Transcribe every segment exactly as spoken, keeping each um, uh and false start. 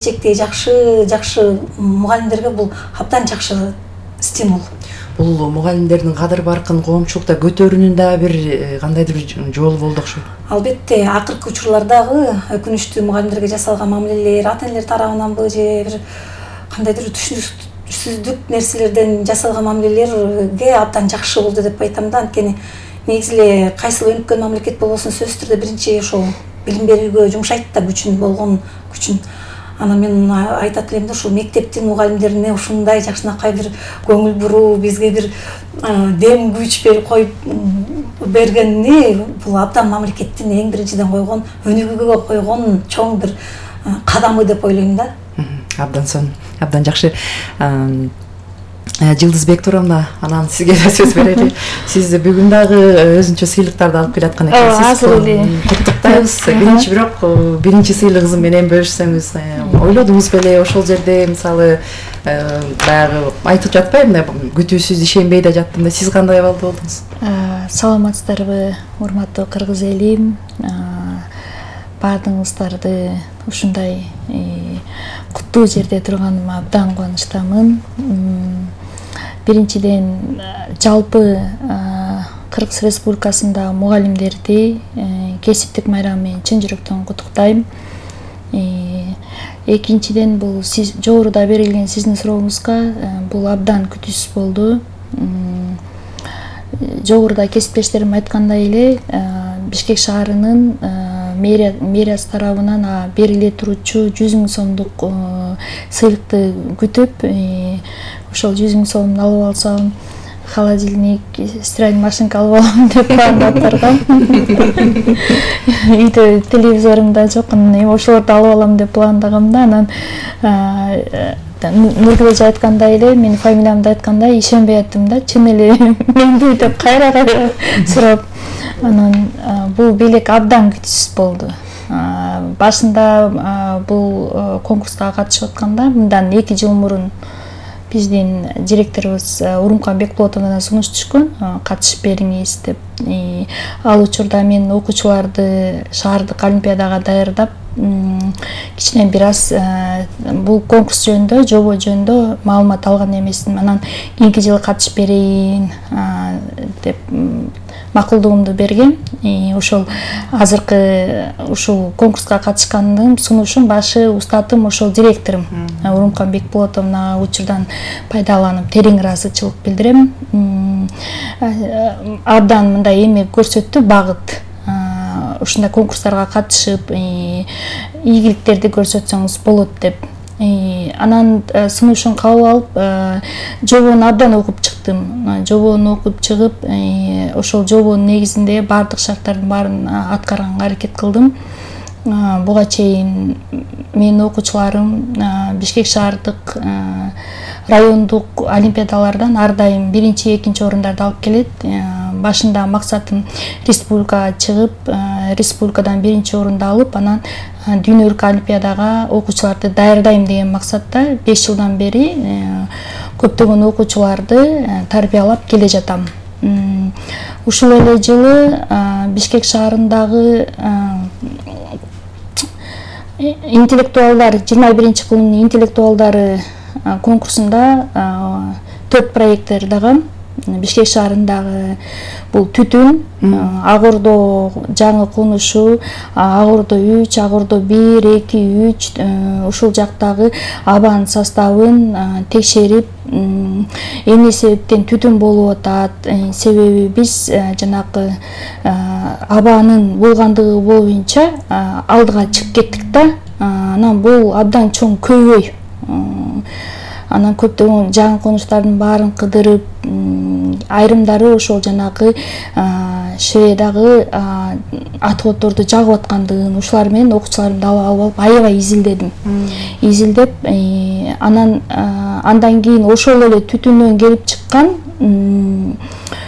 Келечекте жакшы жакшы мугалимдерге бул абдан жакшы стимул. Бул мугалимдердин кадыр баркын коомчулукта көтөрүүнүн да бир кандайдыр бир жолу болду окшойт. Албетте, акыркы учурлардагы өкүнүчтүү мугалимдерге жасалган мамилелер ата-энелер тарабынанбы же бир кандайдыр түшүнүксүздүк нерселерден жасалган мамилелерге абдан жакшы болду деп айтам да. Анткени негизи эле кайсыл өнүккөн мамлекет болбосун сөзсүз түрдө биринчи ошол билим берүүгө жумшайт да күчүн, болгон күчүн. Анан мен айтат элем да, ушул мектептин мугалимдерине ушундай жакшынакай бир көңүл буруу, бизге бир дем күч берип коюп бергени бул абдан мамлекеттин эң биринчиден койгон, өнүгүүгө койгон чоң бир кадамы деп ойлойм да. Абдан сонун, абдан жакшы. Жылдызбек Турамна, анан сизге да сөз берели. Сиз бүгүн дагы өзүнчө сыйлыктарды алып келаткан экенсиз. Азыр эле куттуктайбыз. Биринчи бирок биринчи сыйлыгыңыз менен бөлүшсөңүз, ойлодуңуз беле ошол жерде мисалы баягы айтып жатпайбы да, күтүүсүз ишенбей да жаттым да, сиз кандай абалда болдуңуз? Саламатсыздарбы, урматтуу кыргыз элим? Баардыгыңыздарды ушундай куттуу жерде турганыма абдан кубанычтамын. Биринчиден жалпы Кыргыз Республикасындагы мугалимдерди кесиптик майрамы менен чын жүрөктөн куттуктайм. Экинчиден, бул сиз жогоруда берилген сиздин сурооңузга бул абдан күтүүсүз болду. Жогоруда кесиптештерим айткандай эле, Бишкек шаарынын мэриясы тарабынан бериле турчу жүз миң сомдук сыйлыкты күтүп, ошол жүз миң сомун алып алсам, холодильник, стиральный машинка алып алам деп пландап баргам. Үйдө телевизорум да жок, эми ошолорду алып алам деп пландагам да. Анан Нургүл айткандай эле, менин фамилиямды айткандай ишенбей аттым да, чын эле менби деп кайра кайра сурап. Анан бул белек абдан күтүүсүз болду. Башында бул конкурска катышып атканда, мындан эки жыл мурун биздин директорубуз Урумкан Бекболотовдон сунуш түшкөн, катышып бериңиз деп. Ал учурда мен окуучуларды шаардык олимпиадага даярдап, кичине бир аз бул конкурс жөнүндө, жобо жөнүндө маалымат алган эмесмин. Анан кийинки жылы катышып берейин деп макулдугумду бергем. Ошол азыркы ушул конкурска катышкандын сунушун башы устатым ошол директорум Урумкан Бекболотовна учурдан пайдаланып терең ыраазычылык билдирем. Абдан мындай эмек көрсөттү, багыт. Ушундай конкурстарга катышып, ийгиликтерди көрсөтсөңүз болот деп. Анан сунушун кабыл алып, жобону абдан окуп чыктым. Жобону окуп чыгып, ошол жобонун негизинде баардык шарттардын баарын аткарганга аракет кылдым. Буга чейин менин окуучуларым Бишкек шаардык райондук олимпиадалардан ар дайым биринчи, экинчи орундарды алып келет. Башында максатым республикага чыгып, республикадан биринчи орунду алып, анан дүйнөлүк олимпиадага окуучуларды даярдайм деген максатта беш жылдан бери көптөгөн окуучуларды тарбиялап келе жатам. Ушул эле жылы Бишкек шаарындагы интеллектуалдар, жыйырма биринчи кылымдын интеллектуалдары конкурсунда төрт проект даярдагам. Бишкек шаарындагы бул түтүн, Ак Ордо жаңы конушу, Ак Ордо үч, Ак Ордо бир, эки, үч, ушул жактагы абанын составын текшерип, эмне себептен түтүн болуп атат, себеби биз жанагы абанын болгондугу боюнча алдыга чыгып кеттик да. Анан бул абдан чоң көйгөй. Анан көптөгөн жаңы конуштардын баарын кыдырып, айрымдары ошол жанагы Шведагы атоотторду жагып аткандыгын, ушулар менен окуучуларымды алып алып аябай изилдедим. Изилдеп, анан андан кийин ошол эле түтүндөн келип чыккан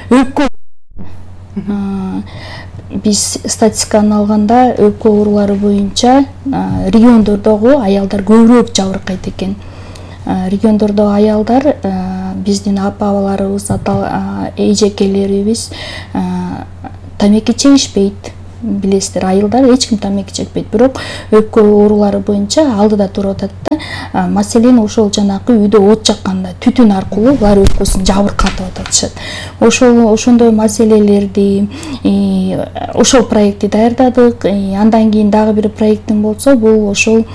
өпкө, биз статистиканы алганда өпкө оорулары боюнча региондордогу аялдар көбүрөөк жабыркайт экен. Региондордогу аялдар биздин апа-абаларыбыз, эжекелерибиз тамеки чегишпейт. билесиздер, айылдар эч ким тамеки чекпейт, бирок өпкө оорулары боюнча алдыда туруп атат да. Маселен ошол жанагы үйдө от жакканда түтүн аркылуу булар өпкөсүн жабыркатып атышат. Ошол ошондой маселелерди ошол проектти даярдадык. Андан кийин дагы бир проектим болсо, бул ошол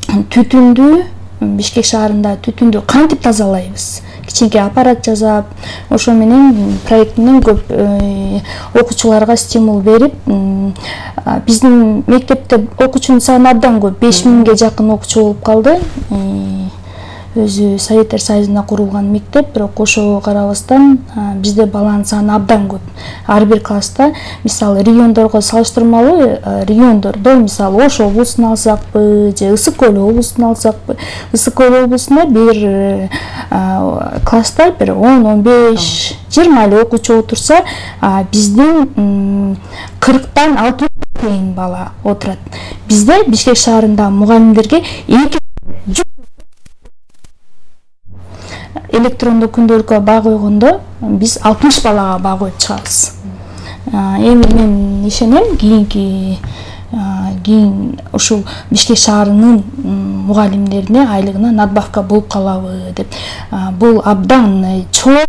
түтүндү Бишкек шаарында түтүндү кантип тазалайбыз? Кичинекей аппарат жасап, ошо менен проектинен көп окуучуларга стимул берип, биздин мектепте окуучунун саны абдан көп, беш миңге жакын окуучу болуп калды. Өзү Советтер Союзунда курулган мектеп, бирок ошого карабастан бизде баланын саны абдан көп. Ар бир класста, мисалы, региондорго салыштырмалуу, региондордо, мисалы, Ош облусун алсакпы, же Ысык Көл облусун алсакпы, Ысык Көл облусунда бир класста бир он он беш жыйырма эле окуучу отурса, биздин кырктан алтымышка чейин бала отурат. Бизде Бишкек шаарында мугалимдерге эки электрондук күндөлүккө баа койгондо биз алтымыш балага баа коюп чыгабыз. Эми мен ишенем, кийинки кийин ушул Бишкек шаарынын мугалимдерине айлыгына надбавка болуп калабы деп. Бул абдан чоң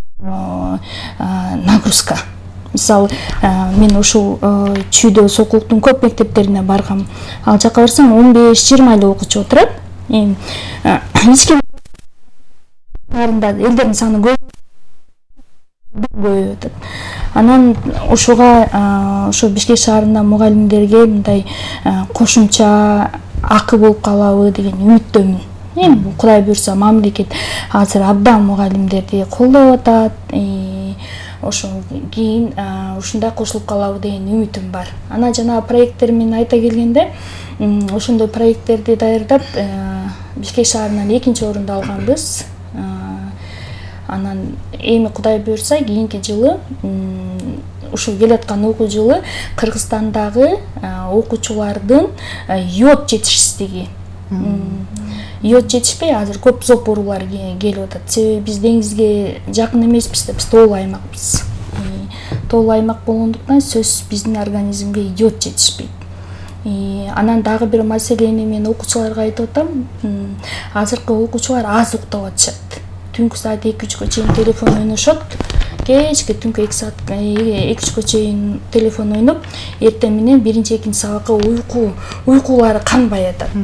нагрузка. Мисалы, мен ушул Чүйдө Сокулуктун көп мектептерине баргам. Ал жака барсам он беш жыйырма эле окуучу отурат. Эми эч ким элдердин саны көп атат. Анан ушуга ошо Бишкек шаарында мугалимдерге мындай кошумча акы болуп калабы деген үмүттөмүн. Эми Кудай буйрса мамлекет азыр абдан мугалимдерди колдоп атат. Ошо кийин ушундай кошулуп калабы деген үмүтүм бар. Анан жана проекттер менен айта келгенде, ошондой проекттерди даярдап Бишкек шаарынан экинчи орунду алганбыз. Анан эми Кудай буйрса кийинки жылы, ушул келаткан окуу жылы Кыргызстандагы окуучулардын йод жетишсиздиги. Йод жетишпей азыр көп зоб оорулар келип атат. Себеби биз деңизге жакын эмеспиз, биз тоолуу аймакпыз. Тоолуу аймак болгондуктан сөзсүз биздин организмге йод жетишпейт. Анан дагы бир маселени мен окуучуларга айтып атам. Азыркы окуучулар аз уктап атышат. Түнкү саат эки үчкө чейин телефон ойношот. Кечки түнкү эки саат эки үчкө чейин телефон ойноп, эртең менен биринчи экинчи сабакка уйку уйкулары канбай атат.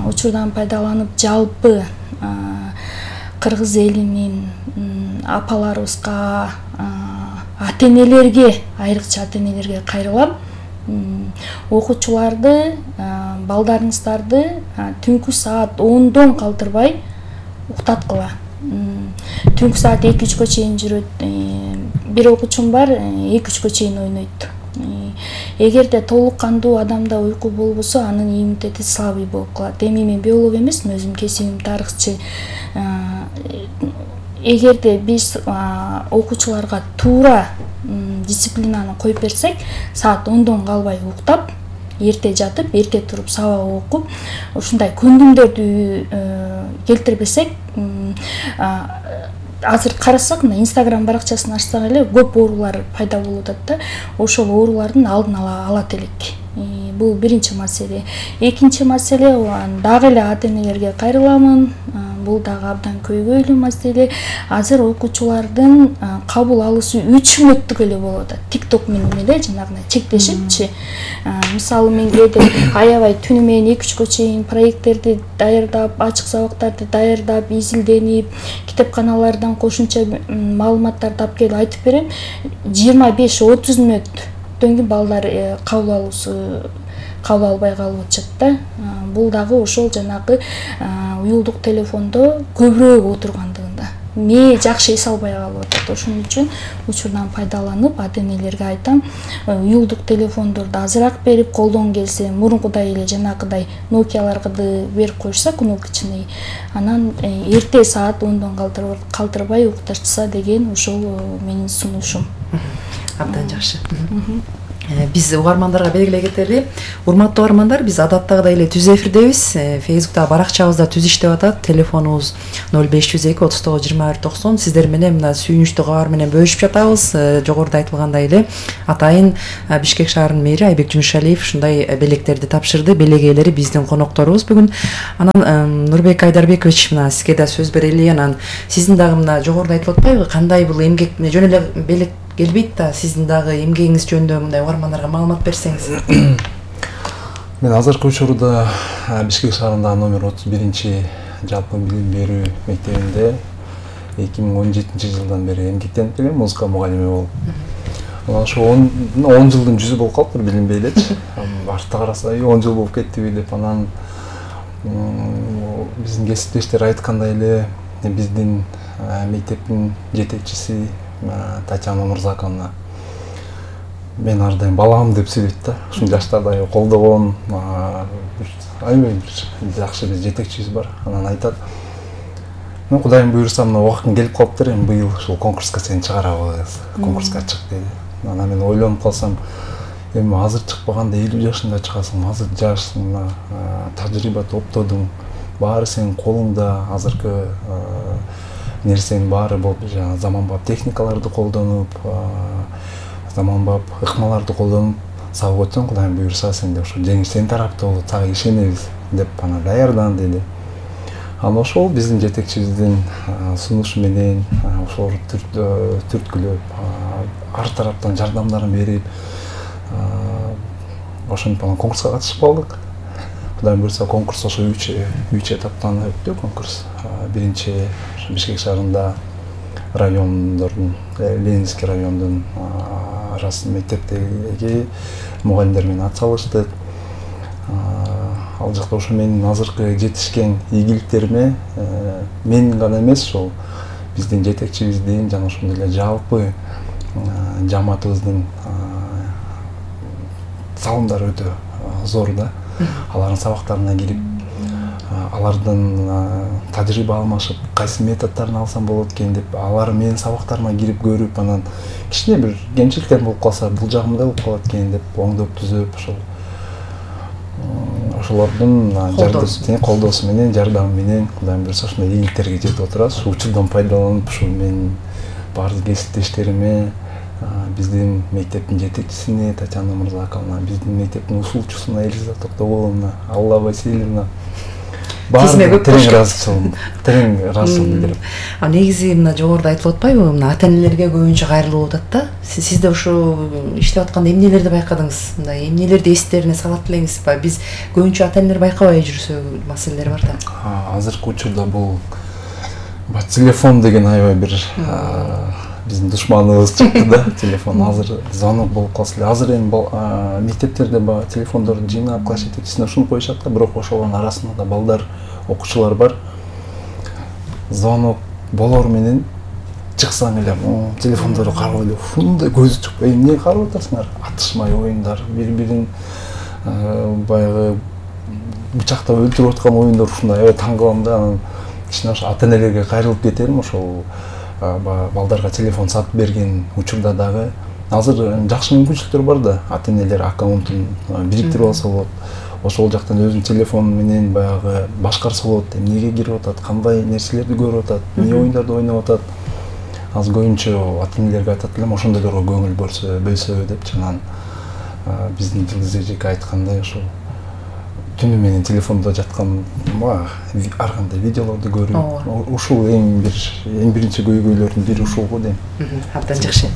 Учурдан пайдаланып жалпы кыргыз элинин апаларыбызга, ата-энелерге, айрыкча ата-энелерге кайрылам. Окуучуларды, балдарыңыздарды түнкү саат ондон калтырбай уктаткыла. Түнкү саат эки үчкө чейин жүрөт. Бир окуучум бар, эки үчкө чейин ойнойт. Эгерде толук кандуу адамда уйку болбосо, анын иммунитети слабый болуп калат. Эми мен биолог эмесмин, өзүм кесибим тарыхчы. Эгерде биз окуучуларга туура дисциплинаны коюп берсек, саат ондон калбай уктап, эрте жатып, эрте туруп сабак окуп, ушундай көндүмдөрдү келтирбесек, азыр карасак, мына Instagram баракчасын ачсак эле көп оорулар пайда болуп атат да. Ошол оорулардын алдын ала алат элек. Бул биринчи маселе. Экинчи маселе, дагы эле ата-энелерге кайрыламын. Бул дагы абдан көйгөйлүү маселе. Азыр окуучулардын кабыл алуусу үч мүнөттүк эле болуп атат. TikTok менен эле жанагындай чектешипчи. Мисалы мен кээде аябай түнү менен эки үчкө чейин проекттерди даярдап, ачык сабактарды даярдап, изилденип, китепканалардан кошумча маалыматтар тап келип айтып берем. жыйырма беш отуз мүнөттөн кийин балдар кабыл алуусу кабыл албай калып атышат да. Бул дагы ошол жанагы уюлдук телефондо көбүрөөк отургандыгында. Ме жакшы эс албай калып атат. Ошон үчүн учурдан пайдаланып, ата-энелерге айтам, уюлдук телефондорду азыраак берип, колдон келсе мурункудай эле жанагыдай Nokia'ларды берип коюшса, кнопкачный, анан эрте саат ондон калтырбай укташса деген ошол менин сунушум. Абдан жакшы. Биз угармандарга белгилей кетели. Урматтуу угармандар, биз адаттагыдай эле түз эфирдебиз. Facebook'та баракчабызда түз иштеп атат. Телефонубуз ноль беш жүз эки отуз тогуз жыйырма бир токсон. Сиздер менен мына сүйүнүчтүү кабар менен бөлүшүп жатабыз. Жогоруда айтылгандай эле атайын Бишкек шаарынын мэри Айбек Жумушалиев ушундай белектерди тапшырды. Белек ээлери биздин конокторубуз бүгүн. Анан Нурбек Айдарбекович, мына сизге да сөз берели. Анан сиздин дагы мына жогоруда айтылып атпайбы, кандай бул эмгек жөн эле белек келбейт да, сиздин дагы эмгегиңиз жөнүндө мындай угармандарга маалымат берсеңиз. Мен азыркы учурда Бишкек шаарындагы номер отуз биринчи жалпы билим берүү мектебинде эки миң он жетинчи жылдан бери эмгектенип келем, музыка мугалими болуп. Анан ошо он жылдын жүзү болуп калыптыр, билинбей элечи. Артта караса, он жыл болуп кеттиби деп. Анан биздин кесиптештер айткандай эле биздин мектептин жетекчиси Татьяна Мурзаковна мен ар дайым балам деп сүйлөйт да. Ушул жаштарда колдогон аябай бир жакшы биз жетекчибиз бар. Анан айтат: "Мен Кудайым буйрса, мына убактың келип калыптыр, эми быйыл ушул конкурска сени чыгарабыз. Конкурска чык" деди. Анан мен ойлонуп калсам, эми азыр чыкпаганда элүү жашында чыгасың, азыр жашсың, мына тажрыйба топтодуң, баары сенин колуңда, азыркы нерсенин баары болуп, жана заманбап техникаларды колдонуп, заманбап ыкмаларды колдонуп сабак өтсөң, Кудайым буйрса сенде ошо жеңиш сенин тарапта болот, сага ишенебиз деп ана даярдан деди. Анан ошол биздин жетекчибиздин сунушу менен ошол түрткүлөп, ар тараптан жардамдарын берип, ошентип анан конкурска катышып калдык. Кудайым буйрса конкурс ошо үч үч этаптан өттү конкурс. Биринчи Бишкек шаарында райондордун, Ленинский райондун арасы мектептеги мугалимдер менен ат салыштык. Ал жакта ошо менин азыркы жетишкен ийгиликтериме мен гана эмес, ошол биздин жетекчибиздин жана ошондой эле жалпы жамаатыбыздын салымдары өтө зор да. Алардын сабактарына кирип, алардын тажрыйба алмашып, кайсы методдорун алсам болот экен деп, алар менин сабактарыма кирип көрүп, анан кичине бир кемчиликтер болуп калса, бул жагымда болуп калат экен деп оңдоп түзөп, ошол ошолордун колдоосу менен, жардамы менен Кудайым буйрса ушундай ийгиликтерге жетип отурабыз. Ушул учурдан пайдаланып, ушул менин баардык кесиптештериме, биздин мектептин жетекчисине Татьяна Мурзаковна, биздин мектептин ушулчусуна Элиза Токтогуловна, Алла Васильевна баары терең ыраазычылык, терең ыраазычылык билдирип. А негизи мына жогоруда айтылып атпайбы, мына ата-энелерге көбүнчө кайрылып атат да. Сиз да ошо иштеп атканда эмнелерди байкадыңыз? Мындай эмнелерди эстерине салат элеңизби? Биз көбүнчө ата-энелер байкабай жүрсө маселелер бар да. Азыркы учурда бул телефон деген аябай бир биздин душманыбыз чыкты да. Телефон азыр звонок болуп калса эле, азыр эми мектептерде баягы телефондорду жыйнап класс жетекчисине ушинтип коюшат да, бирок ошолордун арасында да балдар, окуучулар бар. Звонок болор менен чыксаң эле, телефондорду карап эле ушундай көзү чыкпай, эмне карап атасыңар? Атышмай оюндар, бири-бирин баягы бычактап өлтүрүп аткан оюндар, ушундай аябай таң калам да. Анан кичине ошо ата-энелерге кайрылып кетерим, ошол балдарга телефон сатып берген учурда дагы азыр жакшы мүмкүнчүлүктөр бар да, ата-энелер аккаунтун бириктирип алса болот. Ошол жактан өзүнүн телефону менен баягы башкарса болот, эмнеге кирип атат, кандай нерселерди көрүп атат, эмне оюндарды ойноп атат. Аз көбүнчө ата-энелерге айтат элем, ошондойлорго көңүл бөлсө, бөлсө деп, анан биздин Жылдыз эжеке айткандай ошол түнү менен телефондо жаткан ар кандай видеолорду көрүп, ушул эң бир эң биринчи көйгөйлөрдүн бири ушул го дейм. Абдан жакшы.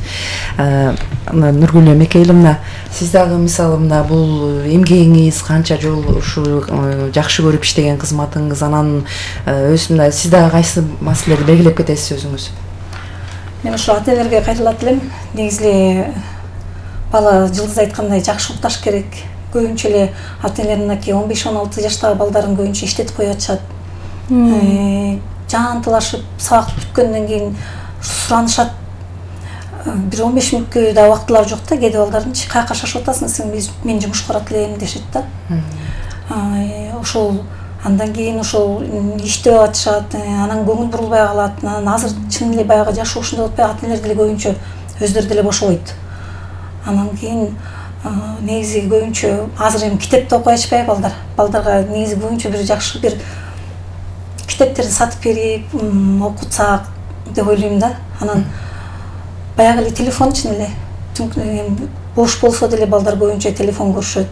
Нургүл Мекейле, мына сиз дагы мисалы мына бул эмгегиңиз канча жыл ушул жакшы көрүп иштеген кызматыңыз, анан өз мына сиз дагы кайсы маселелерди белгилеп кетесиз өзүңүз? Мен ошо ата-энелерге кайрылат элем. Негизи эле бала Жылдыз айткандай жакшы укташ керек. Көбүнчө эле ата-энелер мынакей он беш он алты жаштагы балдарын көбүнчө иштетип коюп атышат. Жаантылашып, сабак бүткөндөн кийин суранышат. Бир он беш мүнөткө да убактылары жок да, кээде балдардынчы каяка шашып атасың, сен мен жумушка барат элем дешет да. Ошол андан кийин ошол иштеп атышат, анан көңүл бурулбай калат. Анан азыр чын эле баягы жашоо ушундай болуп атпайбы, ата-энелер деле көбүнчө өздөрү деле бошобойт. Анан кийин негизи көбүнчө азыр эми китепти окуй ачпайбы балдар. Балдарга негизи көбүнчө бир жакшы бир китептерди сатып берип окутсак деп ойлойм да. Анан баягы эле телефон үчүн эле бош болсо деле балдар көбүнчө телефон көрүшөт.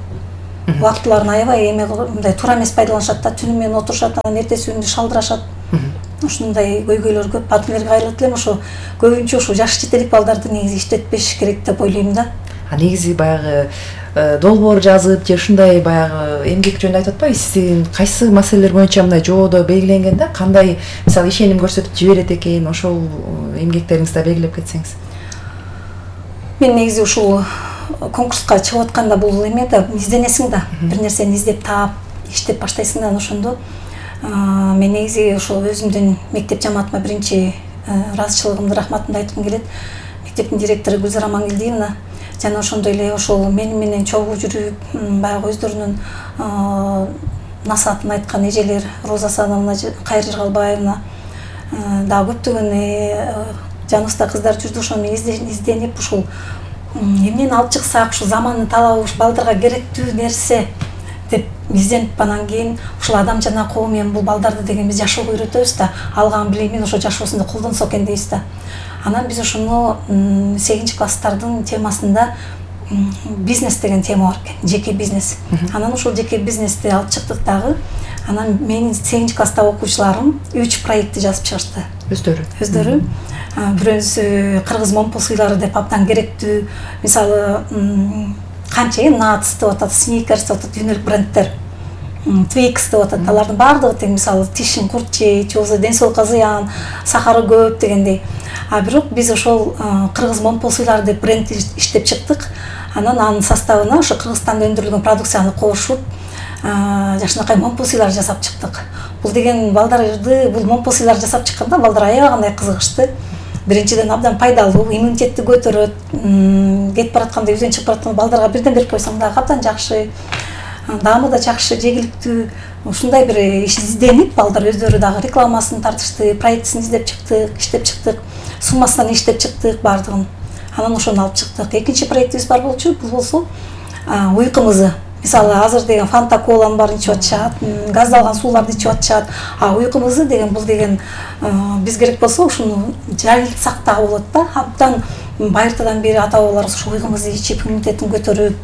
Убактыларын аябай эме мындай туура эмес пайдаланышат да. Түнү менен отурушат, анан эртеси күнү шалдырашат. Ушундай көйгөйлөр көп. Адилерге кайрылат элем, ошо көбүнчө ушу жаш жетелик балдарды негизи иштетпеш керек деп ойлойм да. А негизи баягы долбоор жазып же ушундай баягы эмгек жөнүндө айтып атпайбы, сиздин кайсы маселелер боюнча мындай жоодо белгиленген да, кандай мисалы ишеним көрсөтүп жиберет экен, ошол эмгектериңизде белгилеп кетсеңиз. Мен негизи ушул конкурска чыгып атканда бул эме да, изденесиң да, бир нерсени издеп таап, иштеп баштайсың да, ошондо мен негизи ошол өзүмдүн мектеп жамаатыма биринчи ыраазычылыгымды, рахматымды айткым келет. Мектептин директору Гүлзара Маңгелдиевна жана ошондой эле ошол мени менен чогуу жүрүп, баягы өздөрүнүн насаатын айткан эжелер, Роза Асановна, Кайыр Жыргалбаевна, дагы көптөгөн жаныбызда кыздар жүрдү. Ошону изденип, ушул эмнени алып чыксак, ушу замандын талабы, ушу балдарга керектүү нерсе деп изденип, анан кийин ушул адам жана коом эми бул балдарды деген биз жашоого үйрөтөбүз да, алган билимин ошо жашоосунда колдонсо экен дейбиз да. Анан биз ошону сегизинчи класстардын темасында бизнес деген тема бар экен, жеке бизнес. Анан ошол жеке бизнести алып чыктык дагы. Анан менин сегизинчи класстагы окуучуларым үч проектти жазып чыгышты. Өздөрү. Өздөрү. Бирөөсү кыргыз момпу сыйлары деп абдан керектүү, мисалы канча эми Nuts деп атат, Snickers деп атат, дүйнөлүк бренддер. Twix деп атат, алардын баардыгы тең, мисалы тишин курт жейт, же болбосо ден соолукка зыян, сахары көп дегендей. А бирок биз ошол кыргыз момпу сыйлары деп бренд иштеп чыктык. Анан анын составына ошо Кыргызстанда өндүрүлгөн продукцияны кошуп, жакшынакай момпу сыйлар жасап чыктык. Бул деген балдарды, бул момпу сыйлар жасап чыкканда балдар аябагандай кызыгышты. Биринчиден абдан пайдалуу, иммунитетти көтөрөт. Кетип баратканда, үйдөн чыгып баратканда балдарга бирден берип койсоң дагы абдан жакшы. Даамы да жакшы, жегиликтүү. Ушундай бир иш изденип, балдар өздөрү дагы рекламасын тартышты, проектисин издеп чыктык, иштеп чыктык, суммасынан иштеп чыктык баардыгын. Анан ошону алып чыктык. Экинчи проектибиз бар болчу, бул болсо уйку мызы. Мисалы азыр деген Фанта коланын баарын ичип атышат, газдалган сууларды ичип атышат. А уйку мызы деген бул деген биз керек болсо ушуну жайылтсак дагы болот да. Абдан байыртадан бери ата бабаларыбыз ушу уйку мызы ичип иммунитетин көтөрүп,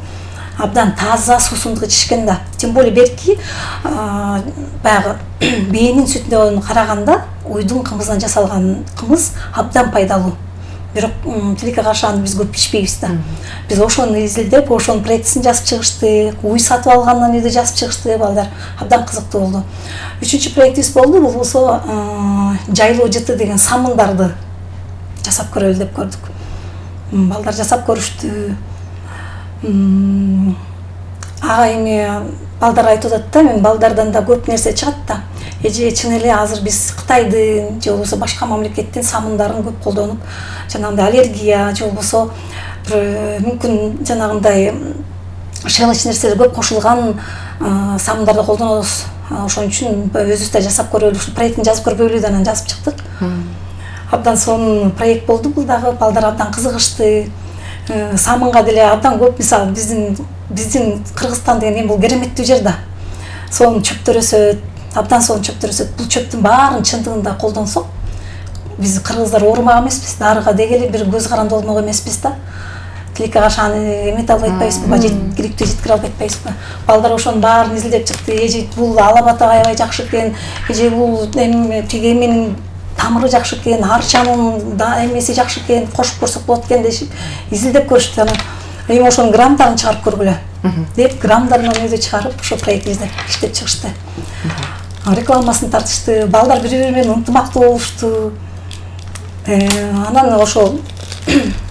абдан таза суусундук ичишкен да. Тем более берки баягы бээнин сүтүнө караганда уйдун кымызынан жасалган кымыз абдан пайдалуу. Бирок тилекке каршы аны биз көп ичпейбиз да. Биз ошону изилдеп, ошонун проектисин жазып чыгышты, уй сатып алгандан үйдө жазып чыгышты, балдар абдан кызыктуу болду. Үчүнчү проектибиз болду, бул болсо жайлоо жыты деген самындарды жасап көрөлү деп көрдүк. Балдар жасап көрүштү. Ага эми балдар айтып атат да, мен балдардан да көп нерсе чыгат да. Эже чын эле азыр биз Кытайдын же болбосо башка мамлекеттин самындарын көп колдонуп, жанагындай аллергия же болбосо мүмкүн жанагындай шелеч нерселер көп кошулган самындарды колдонобуз. Ошон үчүн өзүбүз да жасап көрөлү, ушу проектин жазып көрбөйлү деп анан жазып чыктык. Абдан сонун проект болду бул дагы, балдар абдан кызыгышты. Самынга деле абдан көп, мисалы биздин биздин Кыргызстан деген эми бул кереметтүү жер да. Сонун чөптөр өсөт, абдан сонун чөптөр өсөт. Бул чөптүн баарын чындыгында колдонсок, биз кыргыздар оорумак эмеспиз, дарыга дегеле бир көз каранды болмок эмеспиз да. Тилекке каршы аны эмете албай атпайбызбы, жеткиликтүү жеткире албай атпайбызбы. Балдар ошонун баарын изилдеп чыкты. Эже бул алабаты аябай жакшы экен, эже бул эми тиги эменин тамыры жакшы экен, арчанын да эмеси жакшы экен, кошуп көрсөк болот экен дешип изилдеп көрүштү. Анан эми ошонун граммдарын чыгарып көргүлө деп граммдарын өзү чыгарып ошо проектибизде иштеп чыгышты. Рекламасын тартышты, балдар бири-бири менен ынтымактуу болушту. Анан ошол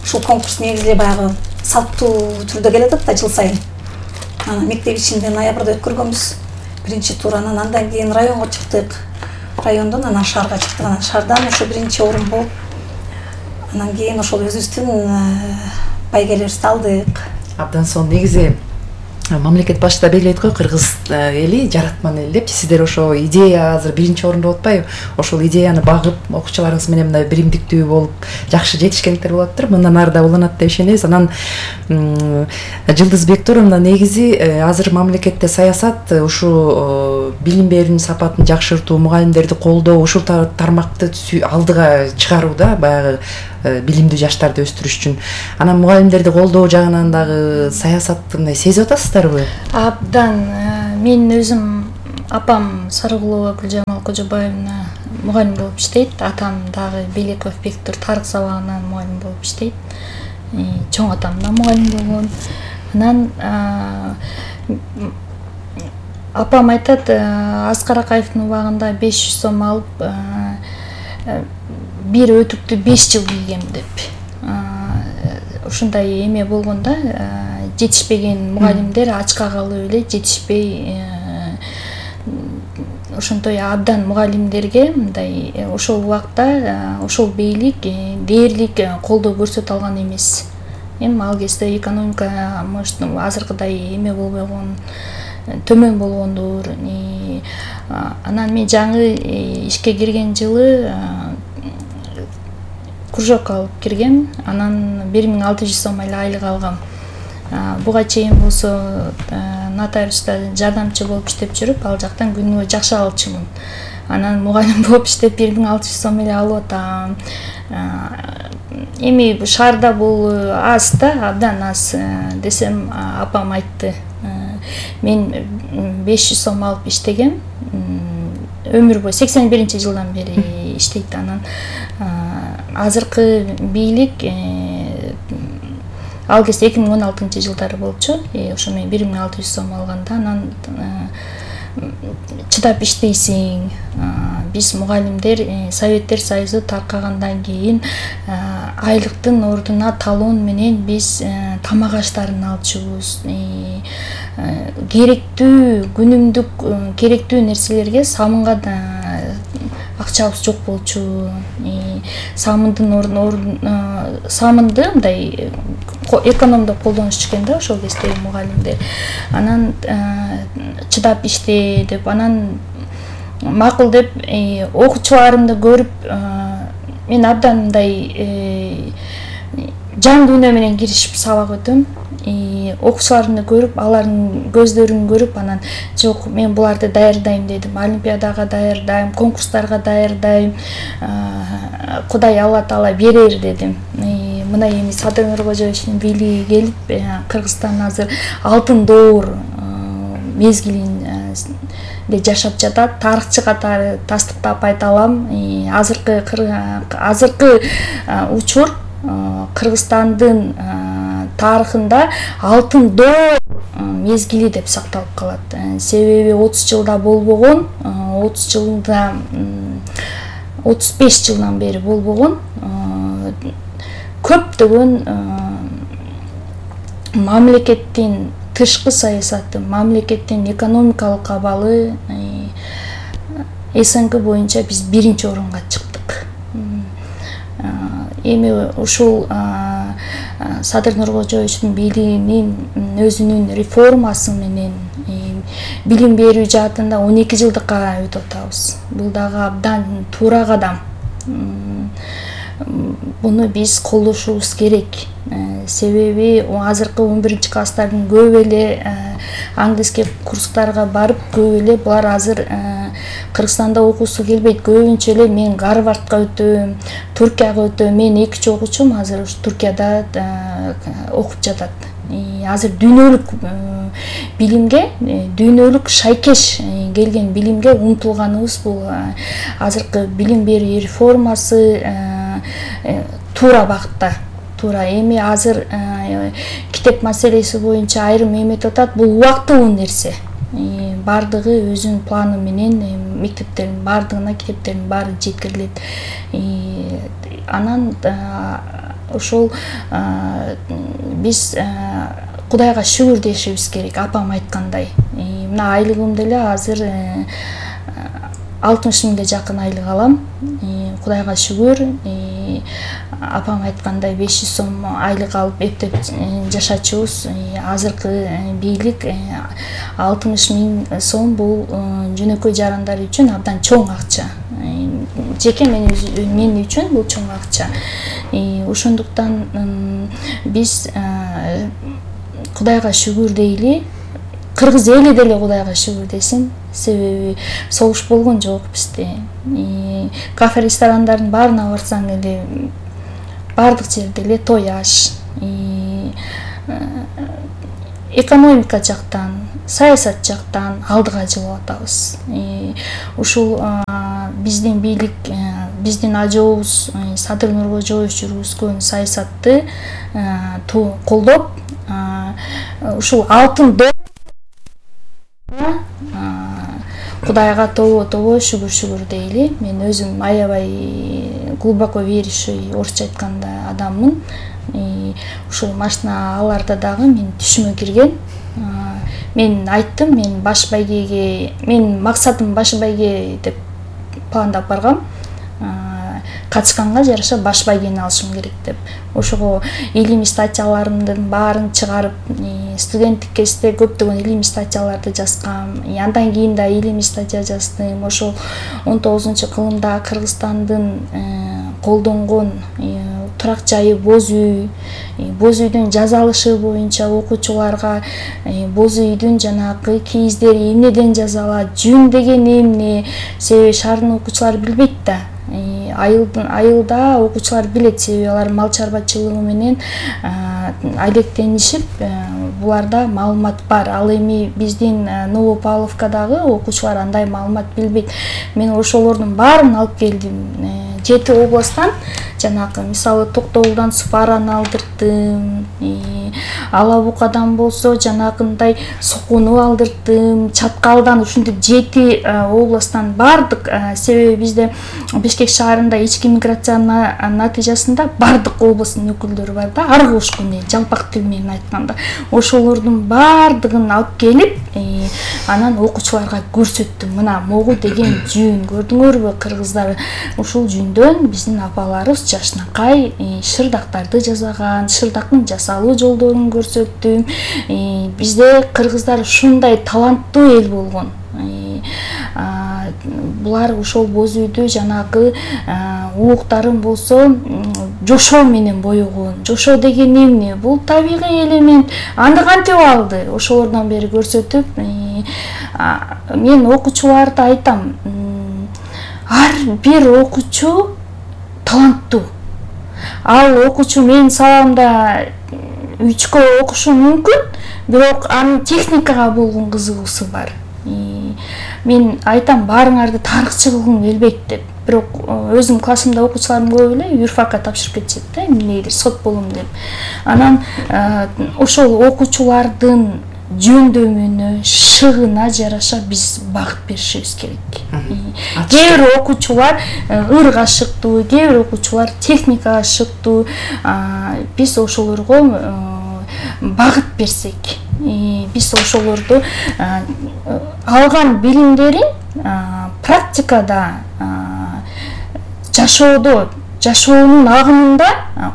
ушул конкурс негизи баягы салттуу түрдө келе атат да жыл сайын. Анан мектеп ичинде ноябрда өткөргөнбүз биринчи тур, анан андан кийин районго чыктык. Райондон анан шаарга чыктык. Анан шаардан ошо биринчи орун болуп, анан кийин ошол өзүбүздүн байгелерибизди алдык. Абдан сонун. Негизи мамлекет башында белгилейт го, Кыргыз эли жаратман эли депчи, сиздер ошо идея азыр биринчи орунда атпайбы? Ошол идеяны багып, окуучуларыңыз менен мындай биримдиктүү болуп жакшы жетишкендер болоттур. Мындан ары да уланат деп ишенебиз. Анан Жылдыз Бектуровна, негизи азыр мамлекетте саясат ушу билим берүүнүн сапатын жакшыртуу, мугалимдерди колдоо, ушул тармакты алдыга чыгаруу да, баягы билимдүү жаштарды өстүрүш үчүн. Анан мугалимдерди колдоо жагынан дагы саясатты мындай сезип атасыздарбы? Абдан. Мен өзүм апам Сарыгулова Гүлжамал Кожобаевна мугалим болуп иштейт. Атам дагы Белеков Бектур тарых сабагынан мугалим болуп иштейт. Чоң атам да мугалим болгон. Анан апам айтат, Аскар Акаевдин убагында беш жүз сом алып бир өтүктү беш жыл кийгем деп. Ушундай эме болгондо жетишпеген мугалимдер ачка калып эле жетишпей, ошонтой абдан мугалимдерге мындай ошол убакта ошол бийлик дээрлик колдоо көрсөтө алган эмес. Эми ал кезде экономика азыркыдай эме болбогон, төмөн болгондур. Анан мен жаңы ишке кирген жылы кружок алып киргем. Анан бир миң алты жүз сом эле айлык алгам. Буга чейин болсо нотариуста жардамчы болуп иштеп жүрүп, ал жактан күнүгө жакшы алчумун. Анан мугалим болуп иштеп бир миң алты жүз сом эле алып атам. Эми шаарда бул аз да, абдан аз десем, апам айтты. Мен беш жүз сом алып иштегем. Өмүр бою сексен биринчи жылдан бери иштейт. Анан азыркы бийлик ал кезде эки миң он алтынчы жылдары болчу. Ошо мен бир миң алты жүз сом алганда, анан чыдап иштейсиң. Биз мугалимдер Советтер Союзу таркагандан кийин айлыктын ордуна талон менен биз тамак аштарын алчубуз. Керектүү, күнүмдүк керектүү нерселерге самынга да акчабыз жок болчу. Самындын ордуна самынды мындай экономдоп колдонуш экен да ошол кезде мугалимдер. Анан чыдап иште деп, анан макул деп окуучуларымды көрүп, мен абдан мындай жан дүйнө менен киришип сабак өтөм. Окуучуларымды көрүп, алардын көздөрүн көрүп, анан жок, мен буларды даярдайм дедим. Олимпиадага даярдайм, конкурстарга даярдайм. Кудай Алла Таала берер дедим. Мына эми Садыр Нуркожоевичтин бийлиги келип, Кыргызстан азыр алтын доор мезгилинде жашап жатат. Тарыхчы катары тастыктап айта алам. Азыркы азыркы учур Кыргызстандын тарыхында алтын доор мезгили деп сакталып калат. Себеби отуз жылда болбогон, отуз жылда отуз беш жылдан бери болбогон көптөгөн мамлекеттин тышкы саясаты, мамлекеттин экономикалык абалы СНГ боюнча биз биринчи орунга чыктык. Эми ушул Садыр Нуркожоевичтин бийлигинин өзүнүн реформасы менен билим берүү жаатында он эки жылдыкка өтүп атабыз. Бул дагы абдан туура кадам. Буну биз колдошубуз керек. Себеби азыркы он биринчи класстардын көп эле английский курстарга барып, көп эле булар азыр Кыргызстанда окуусу келбейт. Көбүнчө эле мен Гарвардга өтөм, Туркияга өтөм. Мен экинчи окуучум азыр ушу Туркияда окуп жатат. Азыр дүйнөлүк билимге, дүйнөлүк шайкеш келген билимге умтулганыбыз бул. Азыркы билим берүү реформасы туура багытта. Туура. Эми азыр китеп маселеси боюнча айрым эметип атат. Бул убактылуу нерсе. Бардыгы өзүнүн планы менен мектептердин бардыгына китептердин баары жеткирилет. Анан ошол биз Кудайга шүгүр дешибиз керек, апам айткандай. Мына айлыгым деле азыр алтымыш миңге жакын айлык алам. Кудайга шүгүр. Апам айткандай беш жүз сом айлык алып эптеп жашачубуз. Азыркы бийлик алтымыш миң сом бул жөнөкөй жарандар үчүн абдан чоң акча. Жеке мен мен үчүн бул чоң акча. Ошондуктан биз Кудайга шүгүр дейли. Кыргыз эли деле Кудайга шүгүр десин. Себеби согуш болгон жок бизде. Кафе ресторандардын баарына барсаң эле бардык жерде эле той аш. Экономика жактан, саясат жактан алдыга жылып атабыз. Ушул биздин бийлик, биздин ажообуз Садыр Нуркожоевич жүргүзгөн саясатты колдоп, ушул алтын Кудайга тобо-тобо шүгүр-шүгүр дейли. Мен өзүм аябай глубоко верующий, орусча айтканда адаммын. Ушул машиналарда дагы мен түшүмө кирген. Мен айттым, мен баш байгеге, мен максатым баш байге деп пландап баргам. Качканга жараша баш байгени алышым керек деп. Ошого илимий статьяларымдын баарын чыгарып, студенттик кезде көптөгөн илимий статьяларды жазгам. Андан кийин да илимий статья жаздым. Ошол он тогузунчу кылымда Кыргызстандын колдонгон турак жайы боз үй, боз үйдүн жазалышы боюнча окуучуларга боз үйдүн жанагы кейиздери эмнеден жазалат, жүн деген эмне, себеби шаардын окуучулары билбейт да. Айылдын айылда окуучулар билет, себеби алар мал чарбачылыгы менен алектенишип, буларда маалымат бар. Ал эми биздин Новопавловкадагы окуучулар андай маалымат билбейт. Мен ошолордун баарын алып келдим. Жети областтан, жанагы мисалы Токтогулдан Супараны алдырдым, Ала Букадан болсо жанагындай Сокуну алдырдым, Чаткалдан, ушинтип жети областтан бардык. Себеби бизде Бишкек шаарында ички миграциянын натыйжасында бардык областтын өкүлдөрү бар да, аргы ушкун жалпак тил менен айтканда. Ошолордун бардыгын алып келип, анан окуучуларга көрсөттүм. Мына могу деген жүн, көрдүңөрбү кыргыздар? Ушул жүндөн биздин апаларыбыз жашнакай шырдактарды жасаган, шырдактын жасалуу жолдорун көрсөттүм. Бизде кыргыздар ушундай таланттуу эл болгон. Булар ошол боз үйдү жанагы улуктарын болсо жошоо менен боёгон. Жошоо деген эмне? Бул табигый элемент. Аны кантип алды? Ошолордон бери көрсөтүп, мен окуучуларда айтам, ар бир окуучу таланттуу. Ал окуучу менин сабамда үчкө окушу мүмкүн, бирок анын техникага болгон кызыгуусу бар. Мен айтам, баарыңарды тарыхчы кылгым келбейт деп. Бирок өзүм классымда окуучуларым көп эле юрфакка тапшырып кетишет да, эмнедир сот болом деп. Анан ошол окуучулардын жөндөмүнө, шыгына жараша биз багыт беришибиз керек. Кээ бир окуучулар ырга ашыктуу, кээ бир окуучулар техникага ашыктуу. Биз ошолорго багыт берсек, биз ошолорду алган билимдерин практикада, жашоодо, жашоонун агымында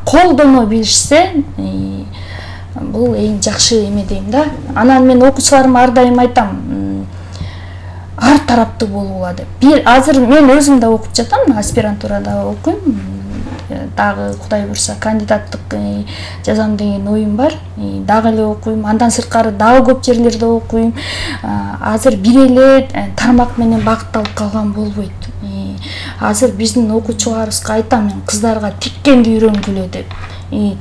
колдоно билишсе, бул эң жакшы эме дейм да. Анан мен окуучуларыма ар дайым айтам, ар тараптуу болуула деп. Бир азыр мен өзүм да окуп жатам, аспирантурада окуйм. Дагы Кудай буйрса кандидаттык жазам деген оюм бар. Дагы эле окуйм. Андан сырткары дагы көп жерлерде окуйм. Азыр бир эле тармак менен багытталып калган болбойт. Азыр биздин окуучуларыбызга айтам, мен кыздарга тиккенди үйрөнгүлө деп.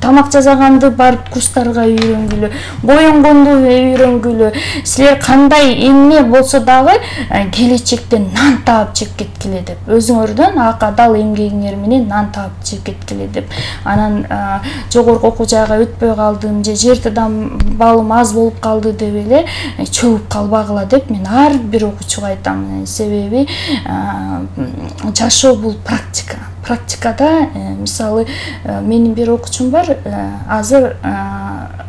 Тамак жасаганды барып курстарга үйрөнгүлө, боенгонду үйрөнгүлө. Силер кандай эмне болсо дагы келечекте нан таап жеп кеткиле деп. Өзүңөрдөн ак адал эмгегиңер менен нан таап жеп кеткиле деп. Анан жогорку окуу жайга өтпөй калдым, же жер балым аз болуп калды деп эле чөгүп калбагыла деп мен ар бир окуучуга айтам. Себеби жашоо бул практика. Практикада, мисалы, менин бир окуучум бар, азыр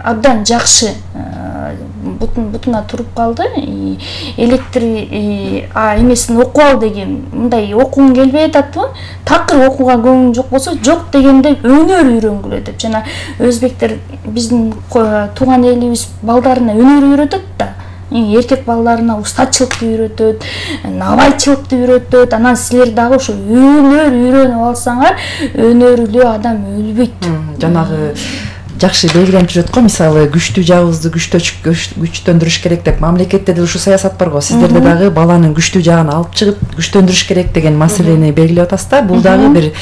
абдан жакшы бутун бутуна туруп калды. Электр эмесин окуп ал деген мындай окугуң келбей ататпы? Такыр окууга көңүң жок болсо, жок дегенде өнөр үйрөнгүлө деп. Жана өзбектер биздин тууган элибиз балдарына өнөр үйрөтөт да. Эркек балдарына устачылыкты үйрөтөт, набайчылыкты үйрөтөт. Анан силер дагы ошо өнөр үйрөнүп алсаңар, өнөрлүү адам өлбөйт. Жанагы жакшы белгиленип жүрөт го, мисалы күчтүү жагыбызды күчтөндүрүш керек деп. Мамлекетте да ушу саясат бар го. Сиздерде дагы баланын күчтүү жагын алып чыгып күчтөндүрүш керек деген маселени белгилеп атасыздар. Бул дагы бир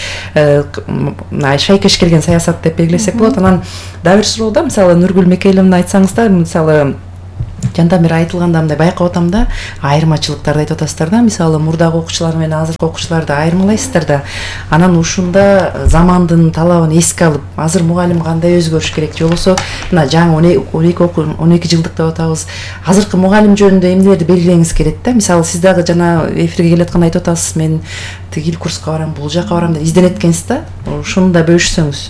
шайкеш келген саясат деп белгилесек болот. Анан дагы бир суроо да, мисалы Нургүл Мекейловна айтсаңыздар, мисалы жанда бир айтылганда мындай байкап атам да, айырмачылыктарды айтып атасыздар да, мисалы мурдагы окуучулар менен азыркы окуучуларды айырмалайсыздар да. Анан ушунда замандын талабын эске алып, азыр мугалим кандай өзгөрүш керек, же болбосо мына жаңы он эки жылдык деп атабыз. Азыркы мугалим жөнүндө эмнелерди белгилеңиз керек да? Мисалы сиз дагы жана эфирге келе атканда айтып атасыз, мен тигил курска барам, бул жака барам деп изденет экенсиз да. Ушуну да бөлүшсөңүз.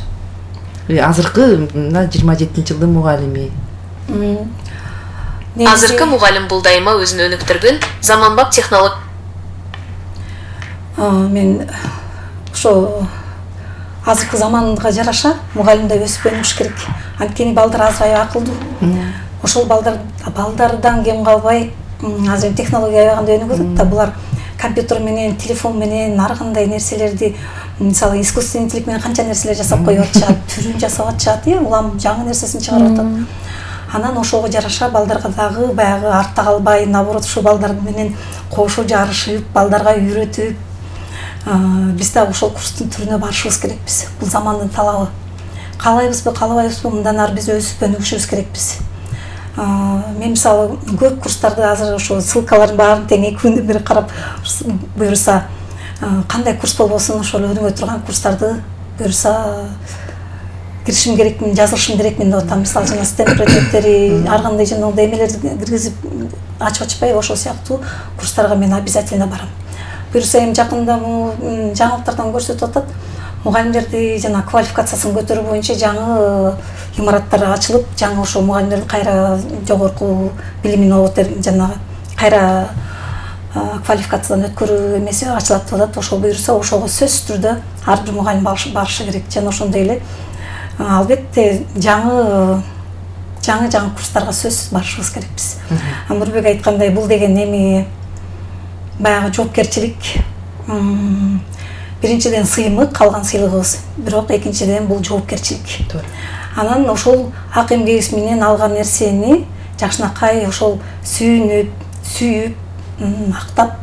Азыркы мына жыйырма жетинчи жылдын мугалими. Азыркы мугалим бул дайыма өзүн өнүктүргөн заманбап технолог. Мен ошо азыркы заманга жараша мугалим да өсүп өнүгүш керек. Анткени балдар азыр аябай акылдуу. Ошол балдар балдардан кем калбай, азыр технология аябагында өнүгүп атат да, булар компьютер менен, телефон менен ар кандай нерселерди, мисалы искусственный интеллект менен канча нерселер жасап коюп атышат, түрүн жасап атышат, улам жаңы нерсесин чыгарып атат. Анан ошого жараша балдарга дагы баягы артта калбай, наоборот, ушу балдар менен кошо жарышып, балдарга үйрөтүп, биз дагы ошол курстун түрүнө барышыбыз керекпиз. Бул замандын талабы. Каалайбызбы, каалабайбызбы, мындан ары биз өсүп өнүгүшүбүз керекпиз. Мен мисалы көп курстарды азыр ошо ссылкалардын баарын тең эки күндөн бери карап, буюрса кандай курс болбосун ошол өнүгө турган курстарды буюрса киришим керекмин, жазылышым керекмин деп атам. Мисалы жана стенд предметтери, ар кандай жанагындай эмелерди киргизип ачып ачпай, ошол сыяктуу курстарга мен обязательно барам. Буюрса эми жакында жаңылыктардан көрсөтүп атат, мугалимдерди жана квалификациясын көтөрүү боюнча жаңы имараттар ачылып, жаңы ошо мугалимдердин кайра жогорку билимин алып жанагы кайра квалификациядан өткөрүү эмеси ачылат деп атат. Ошол буюрса ошого сөзсүз түрдө ар бир мугалим барышы керек. Жана ошондой эле албетте жаңы жаңы жаңы курстарга сөзсүз барышыбыз керекпиз. Нурбек айткандай, бул деген эми баягы жоопкерчилик. Биринчиден сыймык, калган сыйлыгыбыз. Бирок экинчиден бул жоопкерчилик. Анан ошол ак эмгегибиз менен алган нерсени жакшынакай ошол сүйүнүп, сүйүп, актап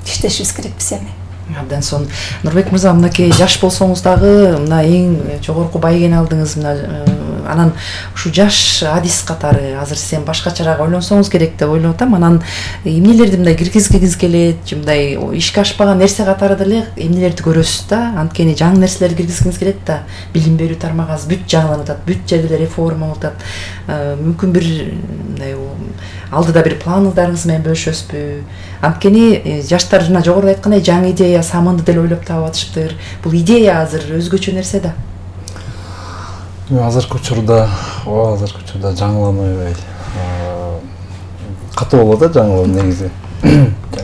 иштешибиз керекпиз эми. Абдан сонун. Нурбек мырза, мынакей жаш болсоңуз дагы мына эң жогорку байгени алдыңыз. Мына анан ушу жаш адис катары азыр сен башкачараак ойлонсоңуз керек деп ойлоп атам. Анан эмнелерди мындай киргизгиңиз келет, мындай ишке ашпаган нерсе катары деле эмнелерди көрөсүз да? Анткени жаңы нерселерди киргизгиңиз келет да. Билим берүү тармагы бүт жаңыланып атат, бүт жерде реформа болуп атат. Мүмкүн бир мындай алдыда бир планыңыздарыңыз менен бөлүшөсүзбү? Анткени жаштар жана жогоруда айткандай жаңы идея, самынды деле ойлоп таап атышыптыр. Бул идея азыр өзгөчө нерсе да. Азыркы учурда, о, азыркы учурда жаңыланбай катуу болот да жаңылоо негизи.